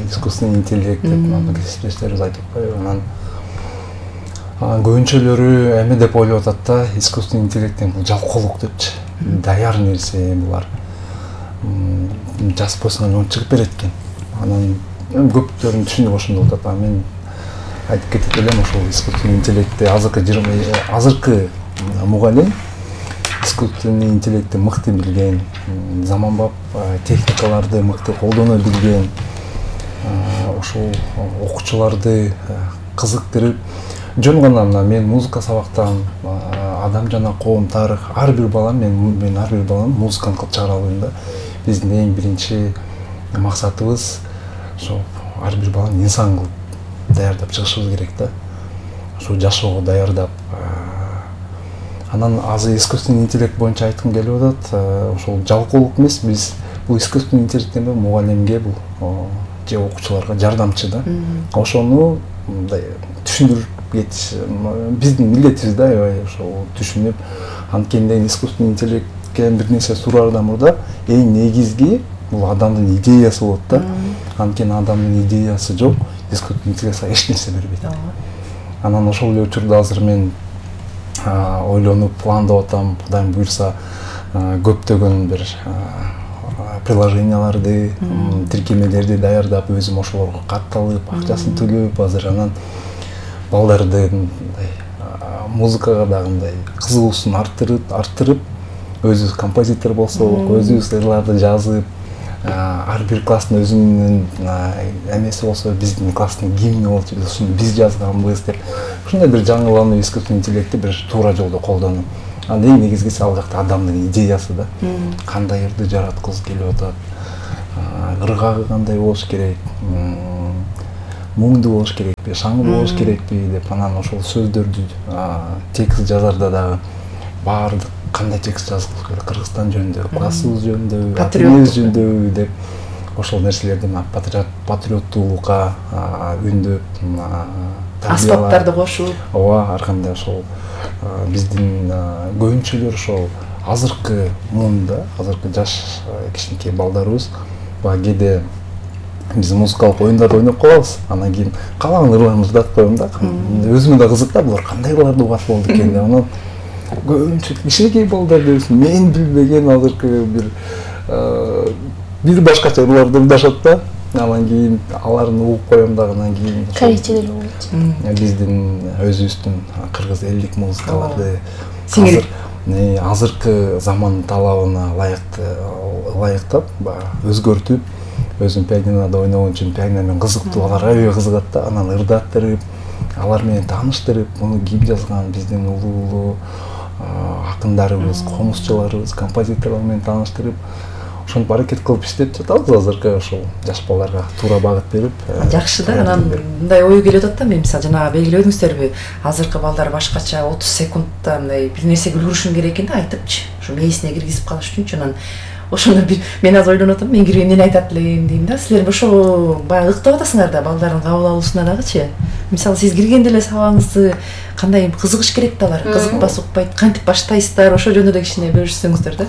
Искусственный интеллект деп мына кесиптештерибиз айтып атпайбы? Анан көбүнчөлөрү эме деп ойлоп атат да, искусственный интеллекттен бул жалкоолук депчи. Даяр нерсе булар. Жазып койсоң он чыгып берет экен. Анан көптөрүн түшүнүп ошондой болуп атат. Мен айтып кетет элем, ошол искусственный интеллектти азыркы азыркы мугалим искусственный интеллектти мыкты билген, заманбап техникаларды мыкты колдоно билген, ошол окуучуларды кызыктырып, жөн гана мына мен музыка сабактан, адам жана коом тарых, ар бир бала мен мен ар бир баланы музыкант кылып чыгара алайын да. Биздин эң биринчи максатыбыз ошо ар бир баланы инсан кылып даярдап чыгышыбыз керек да. Ошо жашоого даярдап. Анан азыр искусственный интеллект боюнча айткым келип атат. Ошол жалкоолук эмес, биз бул искусственный интеллекттен мугалимге бул же окуучуларга жардамчы да. Ошону мындай түшүндүрүп кетиш биздин милдетибиз да, аябай ошол түшүнүп, анткени искусственный интеллект кеткен бир нерсе суроордон мурда эң негизги бул адамдын идеясы болот да. Анткени адамдын идеясы жок, искусственный интеллект эч нерсе бербейт. Анан ошол эле учурда азыр мен ойлонуп пландап атам, Кудайым буйрса көптөгөн бир приложенияларды, тиркемелерди даярдап, өзүм ошолорго катталып, акчасын төлөп, азыр анан балдардын музыкага дагы мындай кызыгуусун арттырып, арттырып, өзүбүз композитор болсок, өзүбүз ырларды жазып, ар бир класстын өзүнүн эмеси болсо, биздин класстын гимни болчу, ушуну биз жазганбыз деп, ушундай бир жаңылануу искусственный интеллектти бир туура жолдо колдонуп. Анда эң негизгиси ал жакта адамдын идеясы да. Кандай ырды жараткыбыз келип атат, ыргагы кандай болуш керек, муңду болуш керекпи, шаңдуу болуш керекпи деп, анан ошол сөздөрдү текст жазарда дагы баардык кандай текст жазылыш керек, Кыргызстан жөнүндө, классыбыз жөнүндө, патриот жөнүндө деп ошол нерселердин патриоттуулукка үндөп, аспаптарды кошуп, ооба, ар кандай ошол биздин көбүнчөлөр ошол азыркы муунда, азыркы жаш кичинекей балдарыбыз баягы кээде биз музыкалык оюндарды ойноп калабыз, анан кийин каалаган ырларыбызды айтып коем да. Өзүмө да кызык да, булар кандай ырларды угат болду экен деп. Анан көбүнчө кичинекей балдар дебесин, мен билбеген азыркы бир бир башкача ырларды ырдашат да. Анан кийин аларын угуп коем дагы, анан кийин корейчелер болчу. Биздин өзүбүздүн кыргыз элдик музыкаларды азыр азыркы заман талабына ылайыктап, өзгөртүп, өзүм пианинода ойногон үчүн пианиномен кызыктуу, алар аябай кызыгат да, анан ырдаттырып, алар менен тааныштырып, муну ким жазган, биздин улуу акындарыбыз, комузчуларыбыз, композиторлор менен тааныштырып, ошентип аракет кылып иштеп жатабыз азыркы ошол жаш балдарга туура багыт берип. Жакшы да, анан мындай ой келип атат да, мен мисалы жанагы белгиледиңиздерби, азыркы балдар башкача отуз секундта мындай бир нерсеге үлгүрүшүн керек экен да, айтыпчы, ушу мээсине киргизип калыш үчүнчү. Анан ошону бир мен азыр ойлонуп атам, мен кирген эмне айтат элем дейм да. Силер ошо баягы ыктап атасыңар да, балдардын кабыл алуусуна дагычы. Мисалы сиз киргенде эле сабагыңызды кандай кызыгыш керек да, алар кызыкпас, укпайт, кантип баштайсыздар, ошо жөнүндө да кичине бөлүшсөңүздөр да.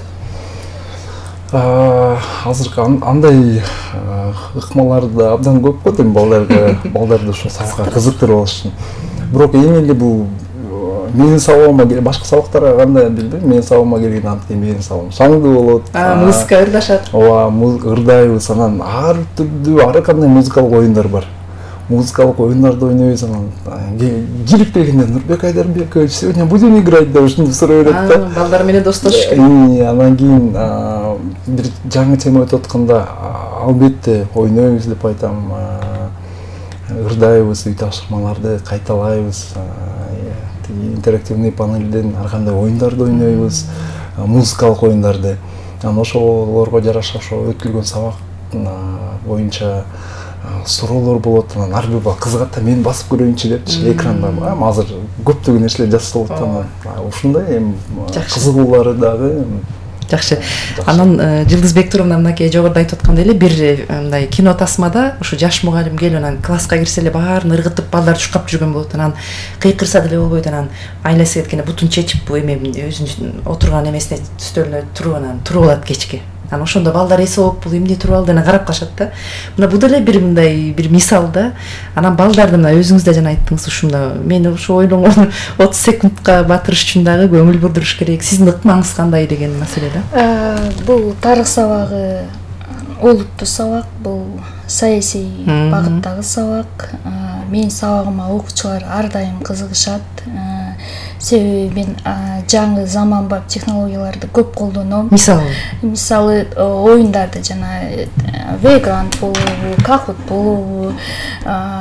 Азыркы андай ыкмалар да абдан көп го дейм балдарга, балдарды ошо сабакка кызыктырып алыш үчүн. Бирок эң эле бул менин сабагыма, башка сабактарга кандай билбейм, менин сабагыма келген анткени менин сабагым шаңдуу болот. Музыка ырдашат. Ооба, ырдайбыз, анан ар түрдүү ар кандай музыкалык оюндар бар. Музыкалык оюндарды ойнойбуз, анан кирип келгенде Нурбек Айдарбекович сегодня будем играть деп ушинтип сурай берет да. Балдар менен достошуш керек. Анан кийин бир жаңы тема өтүп атканда албетте ойнойбуз деп айтам, ырдайбыз, үй тапшырмаларды кайталайбыз, интерактивный панелден ар кандай оюндарды ойнойбуз, музыкалык оюндарды. Анан ошолорго жараша ошо өтүлгөн сабак боюнча суроолор болот, анан ар бир бала кызыгат да, мен басып көрөйүнчү депчи, экранда азыр көптөгөн нерселер жасалып атат, ушундай эми кызыгуулары дагы. Жакшы. Анан Жылдызбек Туровна мынакей жогоруда айтып аткандай эле бир мындай кино тасмада ушу жаш мугалим келип анан класска кирсе эле баарын ыргытып балдар чуркап жүргөн болот. Анан кыйкырса деле болбойт, анан айласы кеткенде бутун чечип эме өзүнүн отурган эмесине стөлүнө туруп анан туруп алат кечке. Анан ошондо балдар эсе болуп бул эмне туруп алды, анан карап калышат да. Мына бул деле бир мындай бир мисал да. Анан балдарды мына өзүңүз да жана айттыңыз, ушунда мен ошо ойлонгон отуз секундка батырыш үчүн дагы көңүл бурдуруш керек. Сиздин ыкмаңыз кандай деген маселе да? Бул тарых сабагы олуттуу сабак, бул саясий багыттагы сабак. Менин сабагыма окуучулар ар дайым кызыгышат. Себеби мен жаңы заманбап технологияларды көп колдоном. Мисалы, мисалы оюндарды жана Vagrant болобу, Kahoot болобу,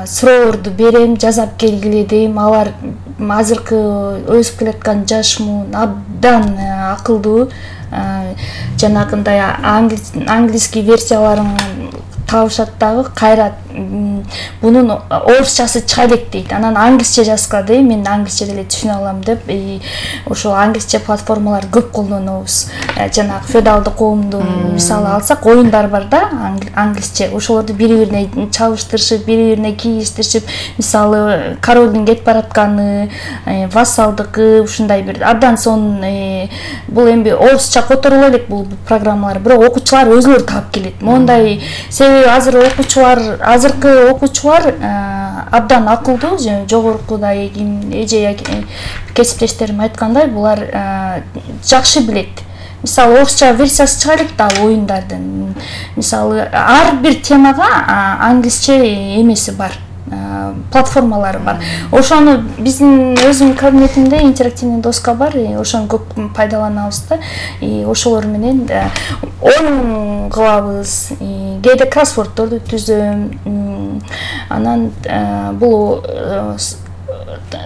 суроолорду берем, жасап келгиле дейм. Алар азыркы өсүп келаткан жаш муун абдан акылдуу. Жанагындай английский версияларын табышат дагы, кайра бунун орусчасы чыга элек дейт. Анан англисче жазгады, мен англисче деле түшүнө алам деп, ошол англисче платформалар көп колдонобуз. Жанагы феодалдык коомдун мисалы алсак, оюндар бар да, англисче. Ошолорду бири-бирине чабыштырышып, бири-бирине кийиштиришип, мисалы королдун кетип баратканы, вассалдыкы, ушундай бир абдан сонун бул эми орусча которула элек бул программалар, бирок окуучулар өзүлөрү таап келет. Мондай себеби азыр окуучулар, азыркы окуучулар абдан акылдуу, жогоркудай эже кесиптештерим айткандай, булар жакшы билет. Мисалы орусча версиясы чыга элек да оюндардын. Мисалы ар бир темага англисче эмеси бар, платформалары бар. Ошону биздин өзүм кабинетимде интерактивный доска бар, ошону көп пайдаланабыз да. И ошолор менен оюн кылабыз, кээде кроссворддорду түзөм. Анан бул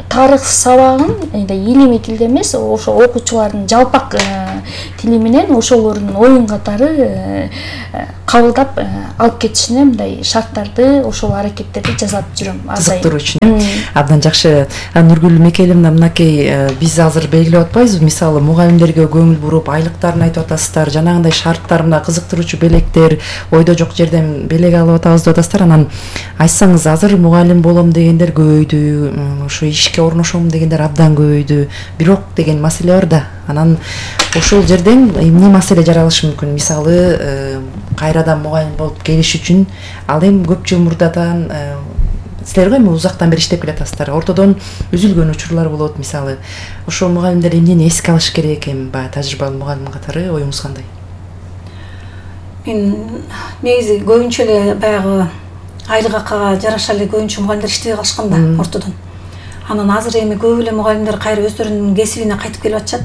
тарых сабагын илимий тилде эмес, ошо окуучулардын жалпак тили менен ошолордун оюн катары кабылдап алып кетишине мындай шарттарды, ошол аракеттерди жасап жүрөм. Кызыктыруу үчүн абдан жакшы. Нургүл Мекелим, мынакей биз азыр белгилеп атпайбызбы, мисалы мугалимдерге көңүл буруп айлыктарын айтып атасыздар, жанагындай шарттар, мына кызыктыруучу белектер, ойдо жок жерден белек алып атабыз деп атасыздар. Анан айтсаңыз, азыр мугалим болом дегендер көбөйдү, ошо ишке орношом дегендер абдан көбөйдү. Бирок деген маселе бар да. Анан ошол жерден эмне маселе жаралышы мүмкүн? Мисалы, кайрадан мугалим болуп келиш үчүн ал эми көп жыл мурдадан силер эми узактан бери иштеп келатасыздар. Ортодон үзүлгөн учурлар болот, мисалы. Ошол мугалимдер эмнени эске алыш керек эми баягы тажрыйбалуу мугалим катары оюңуз кандай? Мен негизи көбүнчө эле баягы айлык акыга жараша эле көбүнчө мугалимдер иштебей калышкан да ортодон. Анан азыр эми көп эле мугалимдер кайра өздөрүнүн кесибине кайтып келип атышат.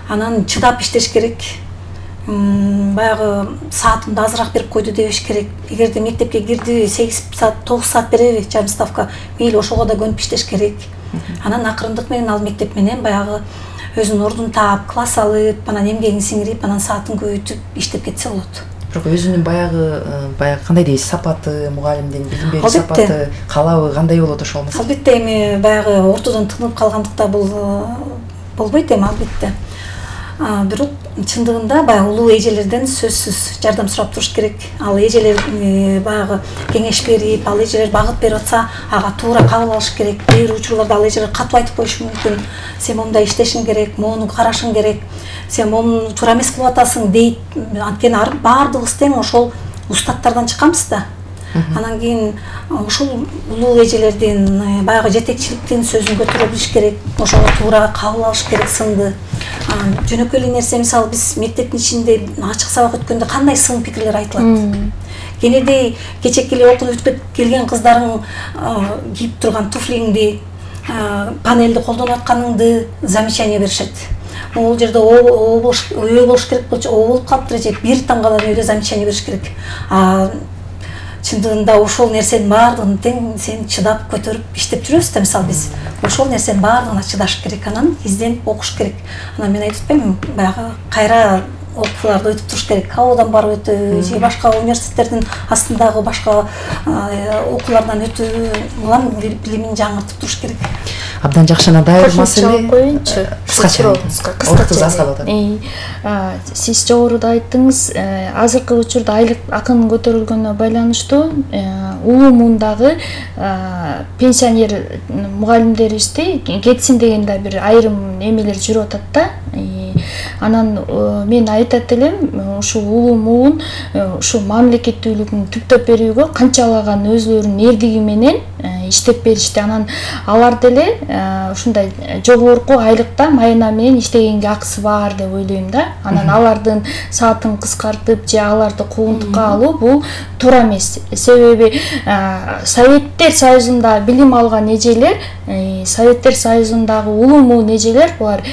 Анан чыдап иштеш керек. Баягы саатымды азыраак берип койду дебеш керек. Эгерде мектепке кирди, сегиз саат, тогуз саат береби, жарым ставка, мейли ошого да көнүп иштеш керек. Анан акырындык менен ал мектеп менен баягы өзүнүн ордун таап, класс алып, анан эмгегин сиңирип, анан саатын көбөйтүп иштеп кетсе болот. Бирок өзүнүн баягы баягы кандай дейсиз, сапаты, мугалимдин билим берүү сапаты, каалабы кандай болот ошол маселе? Албетте, эми баягы ортодон тынып калгандыкта бул болбойт эми, албетте. Бирок чындыгында баягы улуу эжелерден сөзсүз жардам сурап туруш керек. Ал эжелер баягы кеңеш берип, ал эжелер багыт берип атса, ага туура кабыл алыш керек. Кээ бир учурларда ал эжелер катып айтып коюшу мүмкүн. Сен мондай иштешиң керек, мону карашың керек. Сен мону туура эмес кылып атасың дейт. Анткени баардыгыбыз тең ошол устаттардан чыкканбыз да. Анан кийин ошол улуу эжелердин баягы жетекчиликтин сөзүн көтөрө билиш керек. Ошого туура кабыл алыш керек сынды. Жөнөкөй эле нерсе, мисалы биз мектептин ичинде ачык сабак өткөндө кандай сын пикирлер айтылат. Кенедей кечеки эле окуп өтүп келген кыздарың кийип турган туфлиңди, панелди колдонуп атканыңды замечание беришет. Ол жерде о болуш керек болчу, о болуп калыптыр же бир тамгадан өйдө замечание бериш керек. Чындыгында ошол нерсенин баардыгын тең сен чыдап көтөрүп иштеп жүрөбүз да, мисалы биз. Ошол нерсенин баардыгына чыдаш керек, анан изденип окуш керек. Анан мен айтып атпаймынбы, баягы кайра окууларды өтүп туруш керек. Каодан барып өтүү, же башка университеттердин астындагы башка окуулардан өтүү, улам билимин жаңыртып туруш керек. Абдан жакшы, дайыр маселе. Коюнчу. Кыскача. Кыскача. Сиз жогоруда айттыңыз, азыркы учурда айлык акынын көтөрүлгөнүнө байланыштуу улуу муундагы пенсионер мугалимдерибизди кетсин деген да бир айрым эмелер жүрүп атат да. Анан мен айтат элем, ушул улуу муун ушул мамлекеттүүлүгүн түптөп берүүгө канчалаган өзүлөрүнүн эрдиги менен иштеп беришти. Анан алар деле ушундай жогорку айлыкта майына менен иштегенге акысы бар деп ойлойм да. Анан алардын саатын кыскартып же аларды куугунтукка алуу бул туура эмес. Себеби Советтер Союзунда билим алган эжелер, Советтер Союзундагы улуу муун эжелер, булар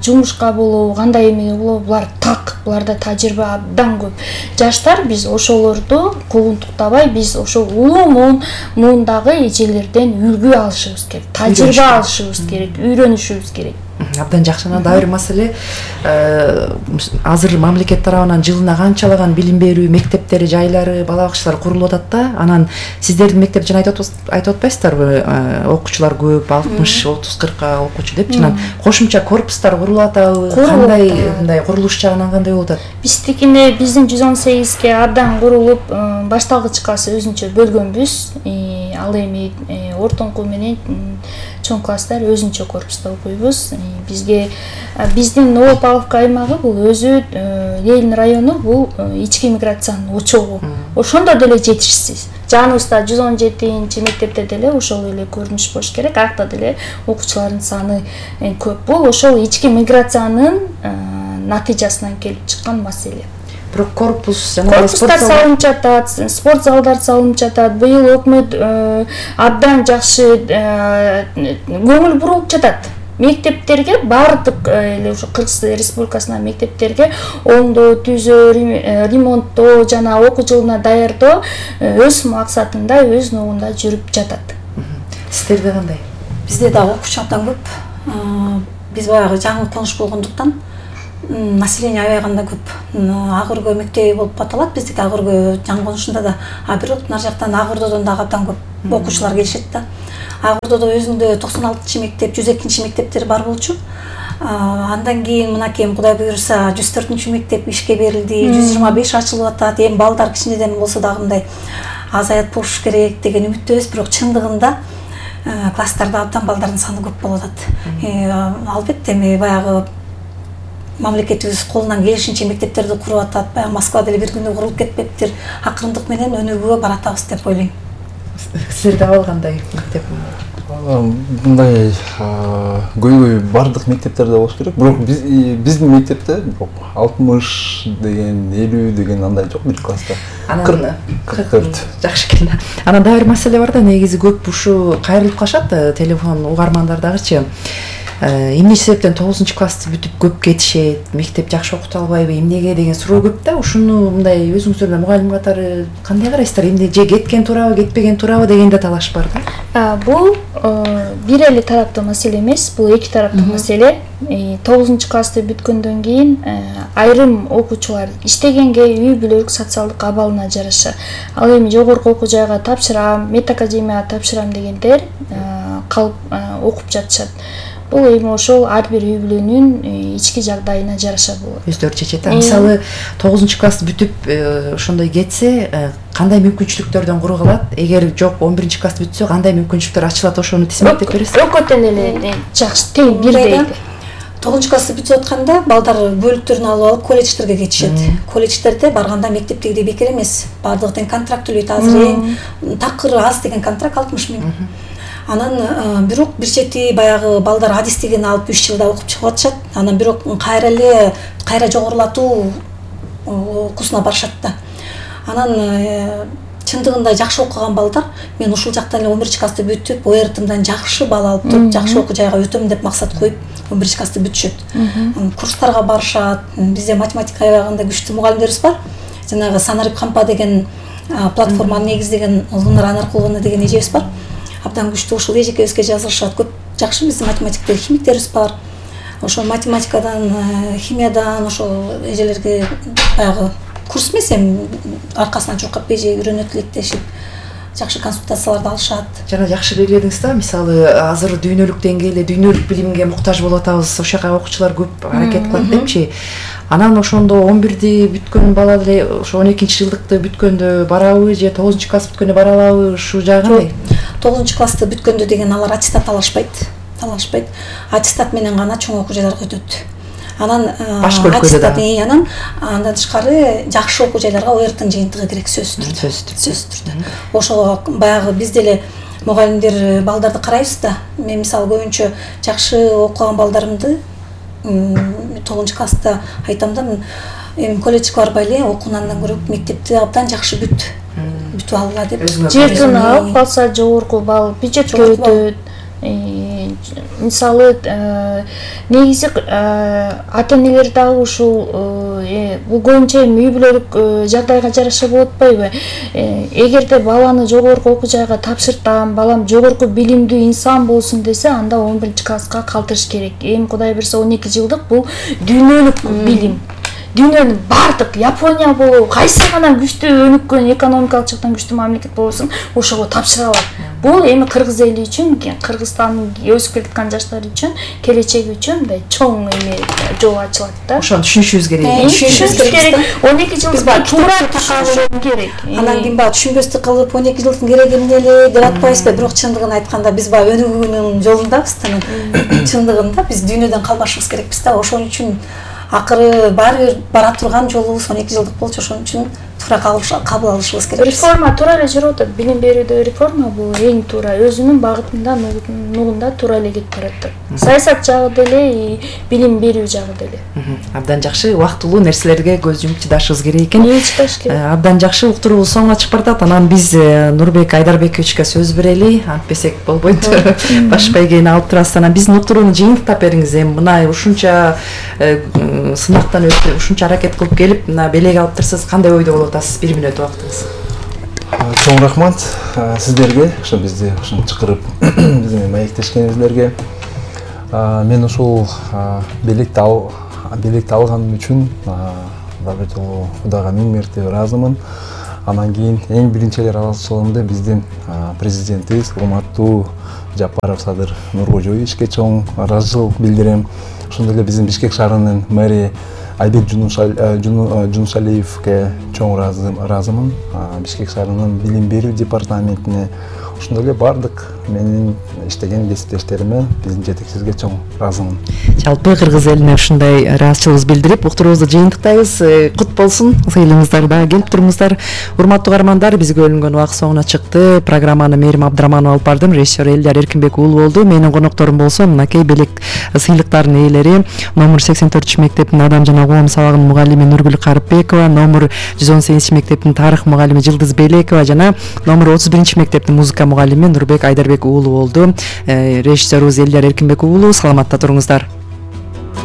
жумушка болобу, кандай эме болобу, булар так, буларда тажрыйба абдан көп. Жаштар биз ошолорду куугунтуктабай, биз ошол улуу муун муундагы эжелерден үлгү алышыбыз керек, тажрыйба алышыбыз керек, үйрөнүшүбүз керек. Абдан жакшы. Анан дагы бир маселе, азыр мамлекет тарабынан жылына канчалаган билим берүү мектептери, жайлары, бала бакчалары курулуп атат да. Анан сиздердин мектеп жана айтып айтып атпайсыздарбы, окуучулар көп, алтымыш отуз кыркка окуучу деп. Анан кошумча корпустар курулуп атабы? Кандай мындай курулуш жагынан кандай болуп атат? Биздикине биздин жүз он сегизге абдан курулуп, башталгыч классы өзүнчө бөлгөнбүз. Ал эми ортоңку менен чоң класстар өзүнчө корпуста окуйбуз. Бизге биздин Новопавловка аймагы бул өзү Ленин району, бул ички миграциянын очогу. Ошондо деле жетишсиз. Жаныбызда жүз он жетинчи мектепте деле ошол эле көрүнүш болуш керек. Акта деле окуучулардын саны көп. Бул ошол ички миграциянын натыйжасынан келип чыккан маселе. Бирок корпус жана корпустар салынып жатат, спорт залдар салынып жатат. Быйыл өкмөт абдан жакшы көңүл буруп жатат. Мектептерге бардык эле ошо Кыргыз Республикасынын мектептерге оңдоо, түзөө, ремонттоо жана окуу жылына даярдоо өз максатында, өз ногунда жүрүп жатат. Сиздерде кандай? Бизде дагы окуучу абдан көп. Биз баягы жаңы конуш болгондуктан население аябаганда көп. Агыргө мектеби болуп аталат. Биздики Агыргө жаңы конушунда да, а бирок нар жактан Агырдодон дагы абдан көп окуучулар келишет да. Агырдодо өзүндө токсон алтынчы мектеп, жүз экинчи мектептер бар болчу. Андан кийин мынакей Кудай буйруса жүз төртүнчү мектеп ишке берилди, жүз жыйырма беш ачылып атат. Эми балдар кичинеден болсо дагы мындай азаят болуш керек деген үмүттөбүз, бирок чындыгында класстарда абдан балдардын саны көп болуп атат. Албетте эми баягы мамлекетибиз колунан келишинче мектептерди куруп атат. Баягы Москва деле бир күндө курулуп кетпептир. Акырындык менен өнүгүүгө баратабыз деп ойлойм. Сиздерде калгандай мектеп? Мындай көйгөй бардык мектептерде болуш керек. Бирок биздин мектепте алтымыш деген, элүү деген андай жок бир класста. кырк төрт. Жакшы экен. Анан дагы бир маселе бар да, негизи көп ушу кайрылып калышат телефон угармандардагычы. Эмне себептен тогузунчу классты бүтүп көп кетишет, мектеп жакшы окута албайбы, эмнеге деген суроо көп да. Ушуну мындай өзүңүздөр мугалим катары кандай карайсыздар? Эмне же кеткен туурабы, кетпеген туурабы деген да талаш бар да. Бул бир эле тараптуу маселе эмес, бул эки тараптуу маселе. тогузунчу классты бүткөндөн кийин айрым окуучулар иштегенге, үй бүлөлүк социалдык абалына жараша, ал эми жогорку окуу жайга тапшырам, медакадемияга тапшырам дегендер калып окуп жатышат. Бул эми ошол ар бир үй бүлөнүн ички жагдайына жараша болот. Өздөрү чечет. Мисалы тогузунчу классты бүтүп ошондой кетсе, кандай мүмкүнчүлүктөрдөн куру калат? Эгер жок он биринчи классты бүтсө, кандай мүмкүнчүлүктөр ачылат, ошону тизмектеп бересиз? Экөө тең эле жакшы, тең бирдей. тогузунчу классты бүтүп атканда балдар бөлүктөрүн алып алып колледждерге кетишет. Колледждерде барганда мектептегидей бекер эмес. Бардыгы тең контракт төлөйт, азыр эң такыр аз деген контракт алтымыш миң. Анан бирок бир чети баягы балдар адис деген алып үч жылда окуп чыгып атышат. Анан бирок кайра эле кайра жогорулатуу курсуна барышат да. Анан чындыгында жакшы окуган балдар, мен ушул жактан эле он биринчи классты бүтүп, о эр тымдан жакшы балл алып туруп, жакшы окуу жайга өтөм деп максат коюп, он биринчи классты бүтүшөт. Курстарга барышат. Бизде математика аябагында күчтүү мугалимдерибиз бар. Жанагы Санарип Кампа деген платформаны негиздеген Улунар Анаркуловна деген эжебиз бар. Абдан күчтүү, ошол эжекебизге жазылышат. Көп жакшы биздин математиктер, химиктерибиз бар. Ошол математикадан, химиядан ошол эжелерге баягы курс эмес, эми аркасынан чуркап эже үйрөнөт электешип, жакшы консультацияларды алышат. Жана жакшы белгиледиңиз да, мисалы азыр дүйнөлүк деңгээлде дүйнөлүк билимге муктаж болуп атабыз, ошол жака окуучулар көп аракет кылат депчи. Анан ошондо он бирди бүткөн бала эле ошо он экинчи жылдыкты бүткөндө барабы же тогузунчу класс бүткөндө бара алабы, ушул жагы кандай? тогузунчу классты бүткөндө деген алар аттестат алышпайт. Алышпайт. Аттестат менен гана чоң окуу жайларга өтөт. Анан аттестат анан андан тышкары жакшы окуу жайларга о эр тын жыйынтыгы керек, сөзсүз түрдө. Сөзсүз түрдө. Ошого баягы биз деле мугалимдер балдарды карайбыз да. Мен мисалы көбүнчө жакшы окуган балдарымды тогузунчу класста айтам да, эми колледжге барбай эле окуунан көрөп мектепти абдан жакшы бүт. Бүтүп алгыла деп. Жетини алып калса жогорку балл бюджетке өтөт. мисалы негизи ата энелер дагы ушул бул көбүнчө эми үй бүлөлүк жагдайга жараша болуп атпайбы? Эгерде баланы жогорку окуу жайга тапшыртам, балам жогорку билимдүү инсан болсун десе, анда он биринчи класска калтырыш керек. Эми Кудай буйрса он эки жылдык бул дүйнөлүк билим. Дүйнөнүн бардык Япония болобу, кайсы гана күчтүү өнүккөн экономикалык жактан күчтүү мамлекет болсун, ошого тапшыра алат. Бул эми кыргыз эли үчүн, Кыргызстандын өсүп келаткан жаштары үчүн, келечеги үчүн мындай чоң эме жол ачылат да. Ошону түшүнүшүбүз керек. Түшүнүшүбүз керек. он эки жылда туура түшүнүшүбүз керек. Анан кийин баягы түшүнбөстүк кылып он эки жылдын кереги эмне эле деп атпайбызбы? Бирок чындыгын айтканда биз баягы өнүгүүнүн жолундабыз да. Чындыгында биз дүйнөдөн калбашыбыз керекпиз да. Ошон үчүн акыры баары бир бара турган жолубуз он эки жылдык болчу, ошон үчүн туура кабыл алышыбыз керек. Реформа туура эле жүрүп атат. Билим берүүдө реформа бул эң туура, өзүнүн багытында, нугунда туура эле кетип баратат. Саясат жагы деле, билим берүү жагы деле. Абдан жакшы, убактылуу нерселерге көз жумуп чыдашыбыз керек экен. Эмне чыдаш керек? Абдан жакшы, уктуруубуз соңуна чыгып баратат. Анан биз Нурбек Айдарбековичке сөз берели, антпесек болбойт. Баш байгени алып турасыз. Анан биздин уктурууну жыйынтыктап бериңиз. Эми мына ушунча сынактан өтүп, ушунча аракет кылып келип, мына белек алыптырсыз, кандай ойдо болуп атасыз? бир мүнөт убактыңыз. Чоң рахмат сиздерге, ошо бизди ушинтип чакырып, биз менен маектешкениңиздерге. Мен ушул белекти ал белекти алганым үчүн дагы жолу Кудайга миң мерте ыраазымын. Анан кийин эң биринчи эле ыраазычылыгымды биздин президентибиз урматтуу Жапаров Садыр Нуркожоевичке чоң ыраазычылык билдирем. Ошондой эле биздин Бишкек шаарынын мэри Айбек Жунушалиевке чоң ыраазымын. Бишкек шаарынын билим берүү департаментине, ошондой эле бардык менин иштеген кесиптештериме, биздин жетекчибизге чоң ыраазымын. Жалпы кыргыз элине ушундай ыраазычылыгыбызды билдирип, уктуруубузду жыйынтыктайбыз. Кут болсун, сыйлыгыңыздар дагы келип туруңуздар. Урматтуу каармандар, бизге бөлүнгөн убакыт соңуна чыкты. Программаны Мээрим Абдыраманова алып бардым, режиссер Элдар Эркинбек уулу болду. Менин конокторум болсо мынакей белек сыйлыктардын ээлери номер сексен төртүнчү мектептин Адам жана коом сабагынын мугалими Нургүл Карыпбекова, номер жүз он сегизинчи мектептин тарых мугалими Жылдыз Белекова жана номер отуз биринчи мектептин музыка мугалими Нурбек Айдарбек уулу болду. Режиссерибиз Элдар Эркинбек уулу. Саламатта туруңуздар.